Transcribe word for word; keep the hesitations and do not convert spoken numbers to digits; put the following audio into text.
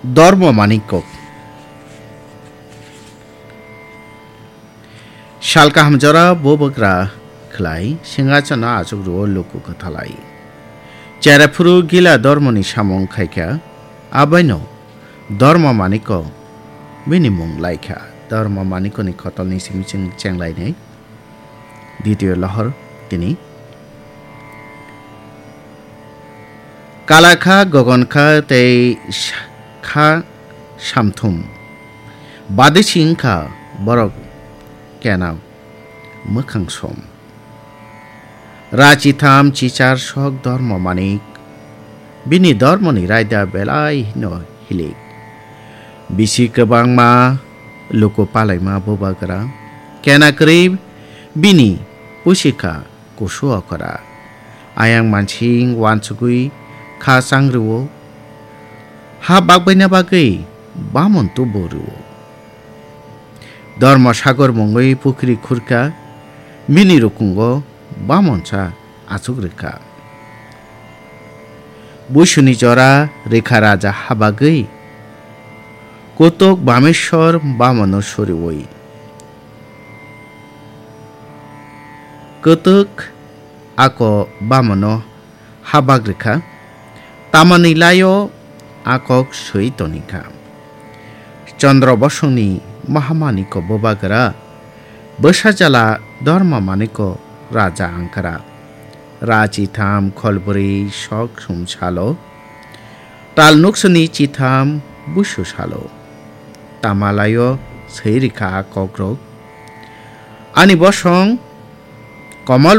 Dormo Manikko. Sal kaham jora bubagra khlai, singhasono achuk rwo luku kwthalai. Cheraphuru gila dormoni samung khaikha, abaino Dormo Manikko bini mung laikha. Dormo Manikkoni khotolni simi chwng chenglainai. Ditio lohor tini. Kala kha, gogon kha tei sa-, kha samthum. Badisi wngkha borok kena mwkhang som. Ra chitham chichar sok Dormo Manik. Bini dormoni raida belai hino hilik. Bisi kwbangma luku palaima bubagra. Kena kwrwi bini pusi kha kusu okora. Ayang mansing wansugwi kha chang rwo. Ha bakbaina bagwi bamon tubu rwo. Dormo sagor mungwi pukhri khurkha, bini rukungo bamonsa achuk rwkha. Buisuni jora rikha raja habagwi, kutuk bameswr bamono suriwi. Kutuk ako bamono habak rikha, tamani laio a kok swi tonikha. Chandra Bosongni Mahamaniko bubagra, bwsajala Dharma Maniko raja angkra. Ra chitham kholbwrwi sok sum salo, tal nuksani chitham busu salo. Tamalaio swi rikha a kokrok. Ani bosong Komol